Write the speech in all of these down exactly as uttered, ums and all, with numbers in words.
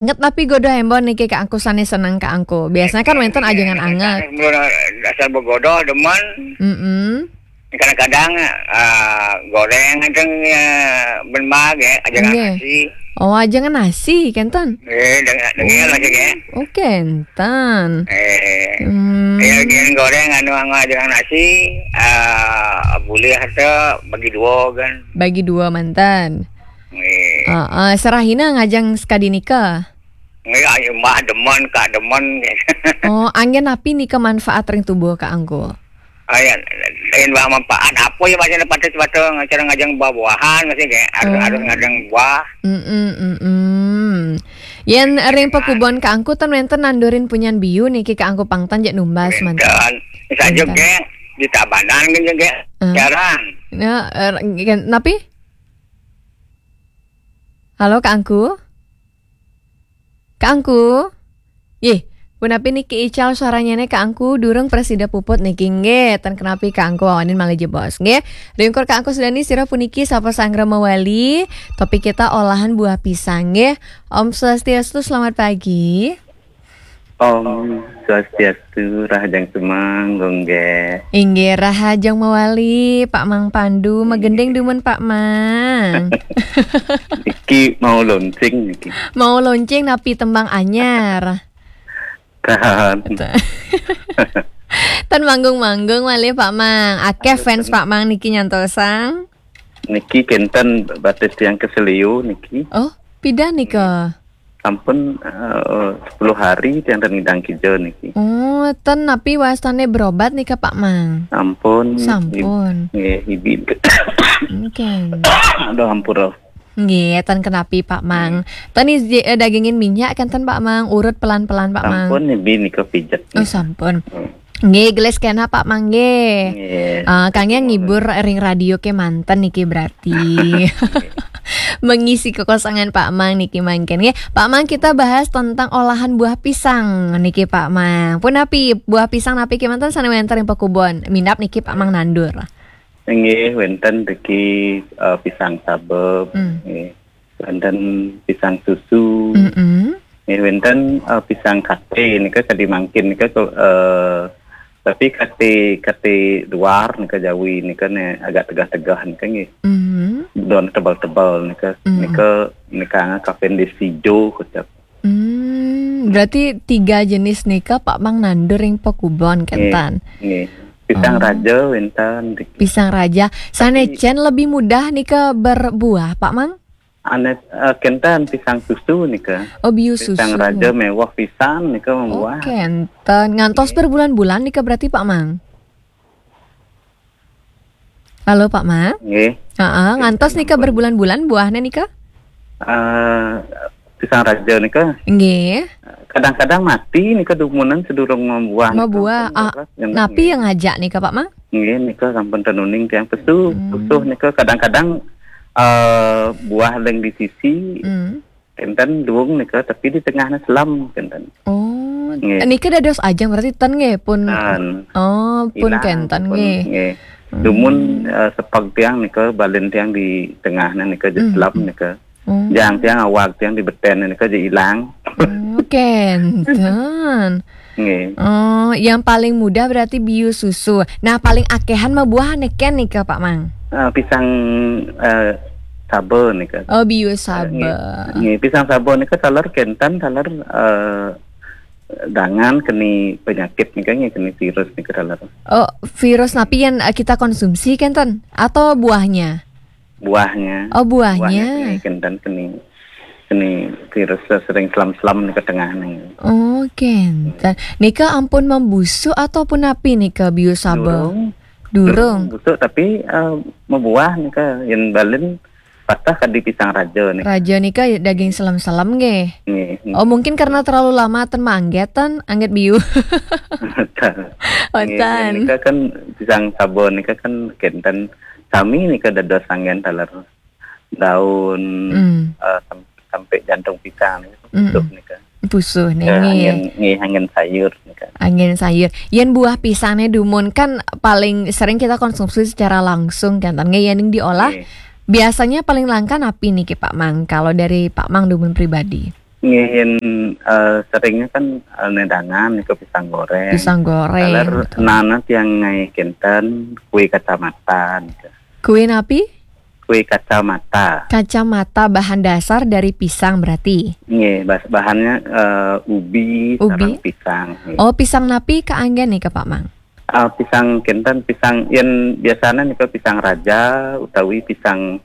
Anget napi godoh embon niki Kak Angku, sane seneng Kak Angku? Biasanya kan wenten ajengan anget. Mula dasar begodoh demen. Mm-mm. Kadang-kadang, ah, goreng aja, ya, ben bage, ajengan Nggih. nasi. Oh, ajengan nasi, kenten? Eh, dengan, dengan Oh. lagi, ya. Oh, kenten. Eh, Hmm. ya, ajengan goreng, anu, anu, ajengan nasi, ah, boleh ada bagi dua, kan. Bagi dua manten. Eh. Heeh, serahina ngajeng sekadi nika? Nggih, ayo, Mbah demen, Kak demen. Oh, anggen napi nika manfaat ring tubuh Kak Angku? Ayan, lain bah manfaat apa ya, macam patut-patut ngajar ngajeng buah-buahan, masih kayak harus, Hmm. harus ngajeng buah. Mm-mm, mm-mm. Yen ring pakubon Kak Angku ten wenten nandurin punyan biu niki Kak Angku pang ten jak numbas manten. Wenten. Saja Wenten. Geng, di Tabanan kan juga. Hmm. Jarang. Ya, eh, gen-, napi? Halo Kak Angku? Kak Angku? Yeh, punapi niki ical suaranyane Kak Angku, durung prasida puput niki nggih. Ten kenapi Kak Angku, awanin malih jebos nggih. Ringkur Kak Angku Sudani, sira puniki sapa sanggra mawali? Topik kita olahan buah pisang nggih. Om Swastiastu, selamat pagi. Om Swastiastu, rahajeng sumanggung nggih. Inggih, rahajeng mawali, Pak Mang Pandu, magending dumun Pak Mang. Iki mau launching niki. Mau launching napi tembang anyar? Kan. Ten manggung-manggung malih Pak Mang. Akeh fans Pak Mang niki nyantosang. Niki kenten batis tiang keselio niki. Oh, pidan nika? Sampun, eh, sepuluh hari tiang ten ngidang kija niki. Oh, ten napi wastane berobat nika Pak Mang? Sampun. Sampun. Ib-, nggih, ibi. Oke. Aduh, ampura. Nggih, ten kenapi Pak Mang. Hmm. Ten isi, eh, dagingin minyak kenten Pak Mang, urut pelan-pelan Pak Mang. Sampun, ibi nika pijet. Oh, sampun. Hmm. Nggih, gelis kena Pak Mang nggih. Nggih. Eh, kangge ngibur ring radio kemanten niki berarti. Mengisi kekosongan Pak Mang niki mangken nggih. Pak Mang, kita bahas tentang olahan buah pisang niki Pak Mang. Punapi buah pisang napi kemanten sane wenten ring pakubon? Minab niki Pak Mang nandur. Nggih, wenten riki, eh, pisang sabeb, Hmm. nggih. Wenten pisang susu. Mm-mm. Nggih, wenten, eh, pisang kate nika kadi mangkin nika, eh, tapi kate, kate luar nika Jawi nika ne agak tegah-tegah nika nggih. Mm. Daun tebal-tebal nika, Mm. nika, nika Cavendish hijau kocap. Hmm, berarti tiga jenis nika Pak Mang nandur ring pakubon kenten. Nggih, nggih. Pisang Oh. raja wenten riki. Pisang raja. Sane Tapi cen lebih mudah nika berbuah, Pak Mang? Ane, eh, kenten pisang susu nika. Oh, biu Pisang susu. raja mewah pisan nika Oh, membuah. Kenten. Ngantos Nggih. berbulan-bulan nika berarti, Pak Mang? Halo, Pak Mang? Nggih. Heeh, ngantos nika Sampun. berbulan-bulan buahnya nika? Eh, pisang raja nika. Nggih. Kadang-kadang mati nika dumunan sedurung membuah nika. Membuah. Sampun Ah, leres, nggih. Napi yang ngajak nika, Pak Mang? Nggih, nika sampun tenuning tiang pesu, Hmm. pusuh nika kadang-kadang, eh, buah yang di sisi, Hmm. kenten duung nika, tapi di tengahnya selam kenten. Oh, Nggih. nika dados ajeng berarti ten nggih pun. Ten. Oh, pun Ilang, kenten pun, nggih. nggih. Hmm. Dumun, eh, sepag tiang nika, balin tiang di tengahnya nika, je Hmm. selam nika. Oh. Jang tiang, awak tiang di beten nika je ilang. Oh, kenten. Nggih. Oh, yang paling mudah berarti biu susu. Nah, paling akehan mah buah neken nika, Pak Mang? Ah, pisang, eh, saba nika. Oh, biu Eh, saba. nggih. Nggih, pisang saba nika taler kenten, taler, eh, dangan keni penyakit nika nggih, keni virus nika taler. Oh, virus napi yang, eh, kita konsumsi kenten? Atau buahnya? Buahnya. Oh, buahnya. Buahnya keni kenten, keni, keni virus sering selam-selam nika tengah nih. Oh, kenten. Nika ampun membusu ataupun napi nika biu saba? Durung. Durung. Durung busuk, tapi, eh, membuah nika, yen balin patah kadi pisang raja nika. Raja nika daging selem-selem nggih. Nggih. Oh, mungkin karena terlalu lama ten mangget ten, angget biu. Betul. Nggih, Betul. nika kan pisang saba nika kan kenten sami nika dados anggen taler daun, Hmm. eh, sam-, sampai jantung pisang nika, Hmm. pusuh nika. Pusuh nih, Ya, nggih. anggen, nggih, anggen sayur nika. Anggen sayur. Yen buah pisangnya dumun kan paling sering kita konsumsi secara langsung kan, nggih, yen diolah Nggih. biasanya paling langka napi niki, Pak Mang, kalau dari Pak Mang dumun pribadi? Nggih, yen, eh, seringnya kan, eh, nedangan nika pisang goreng. Pisang goreng, taler betul. Nana tiang ngai kenten kue kacamata nika. Kue napi? Kue kacamata. Kacamata bahan dasar dari pisang berarti? Nggih, bas-, bahannya, eh, ubi, ubi? Sareng pisang, nggih. Oh, pisang napi kaanggen nika, Pak Mang? Ah, pisang kenten, pisang yen biasanya nika pisang raja utawi pisang,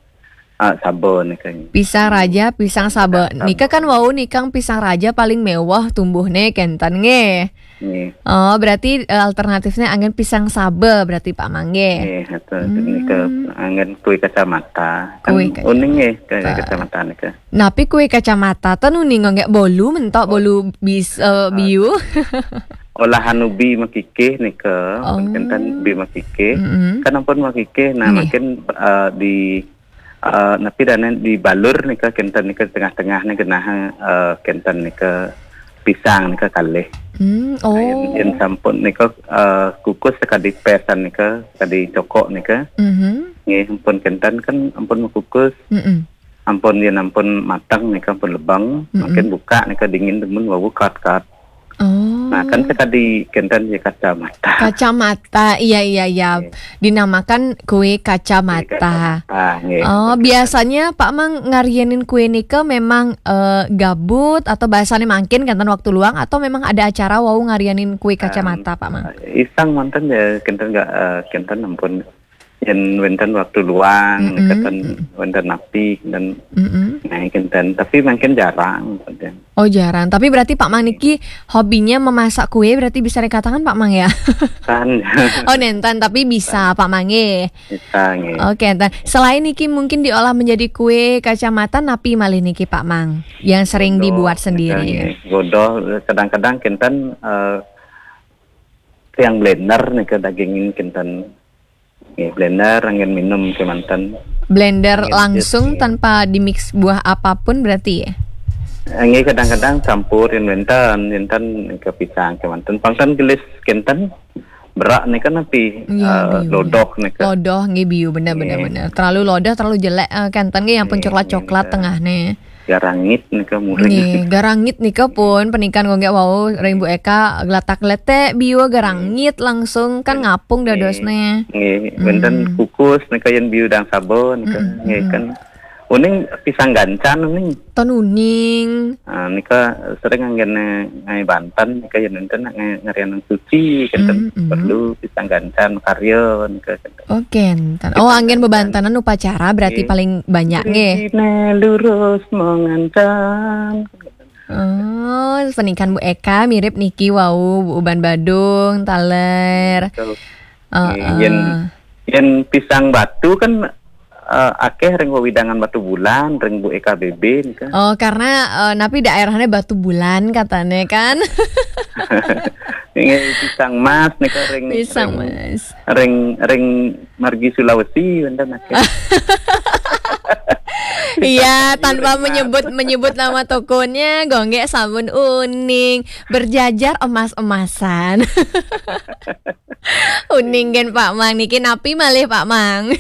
ah, saba nika. Pisang raja, pisang saba. Pisang saba. Nika kan wau nikang pisang raja paling mewah tumbuhnya kenten nggih. Nggih. Oh, berarti, eh, alternatifnya anggen pisang saba berarti Pak Mang nggih. Nggih, betul. Hmm. Nika anggen kue kacamata. Kan kue kacamata. Uning nggih, kue kacamata nika. Napi kue kacamata ten uning nggih bolu mentok bolu bis, eh, biu. Olahan ubi makikih nika, oh, kenten ubi makikih. Mm-mm. Kan ampun makikih, nah, nggih. Makin, eh, di, eh, napi dana dibalur nika, kenten nika tengah-tengah nih genah, eh, kenten nika pisang nika kalih. Hmm, nah, yen, oh. Yen sampun nika, eh, kukus sekadi pesan nika, sekadi cokok nika. Mhm. Nggih, ampun kenten kan ampun mekukus. Mm-mm. Ampun, yen ampun mateng nika, ampun lebeng, mm-mm, makin buka nika dingin temen wau kat-kat. Oh. Nah, kan sekadi kenten ya kacamata. Kacamata, iya, iya, iya. Nggih. Dinamakan kue kacamata. Kue kacamata, nggih. Oh, biasanya Pak Mang ngarianin kue nika memang, eh, gabut atau bahasanya mangkin kenten waktu luang atau memang ada acara wau ngarianin kue kacamata, Pak Mang? Em, iseng manten ya, kenten nggak, eh, kenten ampun yen wenten waktu luang, mm-mm, nika ten wenten napi, dan, mm-mm, nah, kenten. Tapi makin jarang, kenten. Oh, jarang. Tapi berarti Pak Mang niki hobinya memasak kue, berarti bisa dikatakan Pak Mang ya? Kan. Oh, nenten, tapi bisa, kan. Pak Mang nggih. Bisa, nggih. Oke, enten. Selain niki mungkin diolah menjadi kue kacamata, napi malih niki Pak Mang yang sering dibuat sendiri? Godog, nika, nggih. Godog, kadang-kadang kenten, eh, yang blender nika dagingin kenten. Nggih, blender anggen minum kemanten. Blender langsung tanpa dimix buah apapun berarti ya? Nggih, kadang-kadang campur yen wenten, enten ke pisang kemanten. Pangten gelis kenten, berak nika napi, iya, eh, biu. Lodok nika. Lodok nggih biu, bener, bener, nggih, bener. Terlalu lodok, terlalu jelek, eh, kenten nggih yang pun coklat-coklat tengahnya. Garangit nika muring. Nggih, garangit nika pun penikan nggih wau ring Bu Eka gelatak-geletek biu garangit langsung kan ngapung dadosne. Nggih, wenten kukus nika yen biu dang saba nika. Mm-mm, nggih, mm-mm. Kan uning pisang gancan uning. Ten uning. Ah, nika sering anggen ngai banten nika yen wenten ngai ngarian suci kenten, mm-mm, perlu pisang gancan karya nika. Oke, enten. Oh, anggen bebantenan upacara berarti paling banyak nggih. Rine lurus mengancan. Oh, penikan Bu Eka mirip niki wau, Bu Uban Badung, taler. Betul. Heeh. Yen, yen pisang batu kan, eh, akeh ring wewidangan Batu Bulan, ring Bu Eka B B nika. Oh, karena, eh, napi daerahnya Batu Bulan katanya kan. Nggih, pisang mas nika ring, pisang ring, mas. Ring, ring margi Sulawesi wenten akeh. Iya, tanpa menyebut, menyebut nama tokonya, gonggek sabun uning, berjajar emas-emasan. Uning gen Pak Mang, niki napi malih Pak Mang?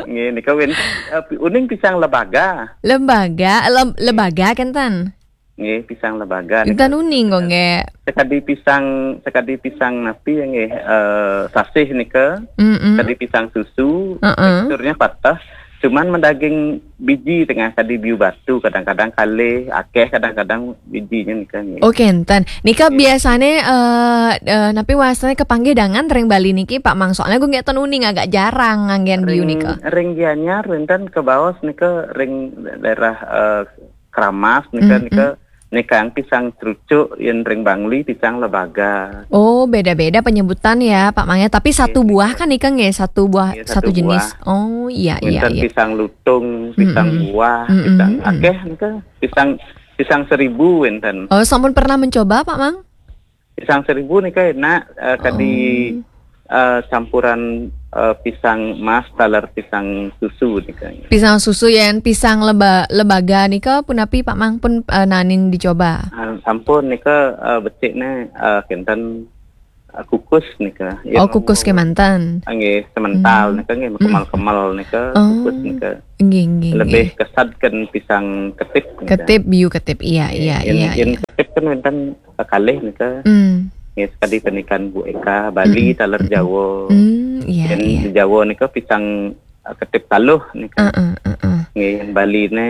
Nggih, nika win, eh, pi-, uning pisang lebaga. Lebaga, lem-, lebaga kenten? Nggih, pisang lebaga. Enten uning kok, nggih. Sekadi pisang, sekadi pisang napi ya, nggih, eh, sasih nika. Mm-mm. Sekadi pisang susu, heeh, teksturnya patah. Cuman mendaging biji tengah kadi biu batu, kadang-kadang kalih, akeh kadang-kadang bijinya nika, nggih. Oke, enten. Nika biasane, eh, eh, napi wastane kepanggih dangan ring Bali niki, Pak Mang? Soalnya gue nggak ten uning agak jarang nganggen biu nika. Ring, ring Gianyar, wenten kebaos nika ring daerah, eh, Kramas nika, mm-mm, nika, nika yang pisang trucuk, yen ring Bangli pisang lebaga. Oh, beda-beda penyebutan ya, Pak Mang ya. Tapi satu buah kan nika nggih, satu buah, satu jenis. Iya, satu buah. Oh, iya, iya, iya. Wenten pisang lutung, pisang buah, mm-mm, pisang akeh nika, pisang, pisang seribu wenten. Oh, sampun pernah mencoba, Pak Mang? Pisang seribu nika enak, eh, kadi, oh, eh, campuran, eh, pisang mas taler pisang susu nika. Pisang susu yen pisang leba-, lebaga nika punapi Pak Mang pun, eh, nanin dicoba? Ah, sampun nika, eh, becikne, eh, kenten, kukus nika. Yen Oh, kukus ke mantan. Nggih, semental nika nggih, kemal-kemal nika, Oh. Kukus nika. Nggih, nggih, Lebih nggih. Kesadkan pisang ketip nika. Ketip, biu ketip. Iya, iya, Yen, iya, yen iya. Ketip kan wenten kalih nika. Hmm. Nggih, sekadi penikan Bu Eka, Bali taler Jawa. Hmm, iya, Yen iya. Di Jawa nika pisang eh, ketip taluh nika. Heeh, heeh. Nggih, yen Bali ne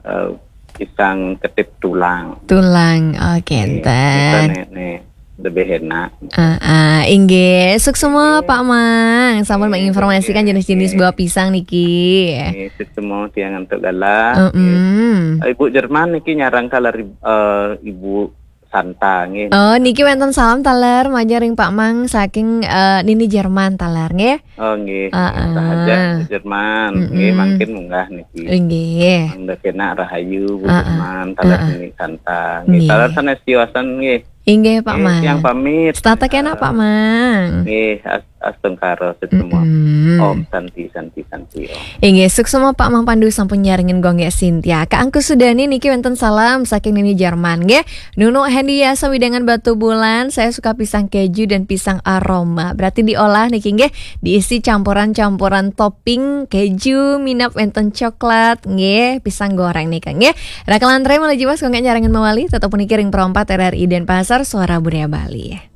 eh, pisang ketip tulang. Tulang. Oke, enten. Nek, nek lebih enak. Ah, ah, inggih. Suksma Pak Mang. Sampun menginformasikan jenis-jenis buah pisang niki. Nggih, semua tiang antuk galah. Mm-mm. Ibu Jerman niki nyarang taler eh, Ibu Santa nggih. Oh, niki wenten salam taler majeng ring Pak Mang saking eh, Nini Jerman taler nggih. Oh nggih. Ah, ah. Sahaja Ibu Jerman nggih, mangkin munggah niki. Inggih. Mangda kena rahayu Bu Ah, ah. Jerman, taler Nini Santa. Nggih, Nggih. Taler sanes tiwasan nggih. Inggih Pak Nggih, Mang. Tiang pamit. Setata kena Pak Mang. Nggih, as- astungkara semua. Mm-mm. Om Santi Santi Santi Om. Inggih, suksma Pak Mang Pandu sampun nyarengin Gung Gek Sintia. Kak Angku Sudani niki wenten salam saking Nini Jerman nggih. Nunu Hendy Yasa Widangan Batu Bulan, saya suka pisang keju dan pisang aroma. Berarti diolah niki nggih, diisi campuran-campuran topping keju, minap wenten coklat nggih, pisang goreng nika nggih. Rakalan tre malah jiwas Gung Gek nyarengin mawali, tetep puniki ring Pro empat R R I Denpasar, Suara Budaya Bali.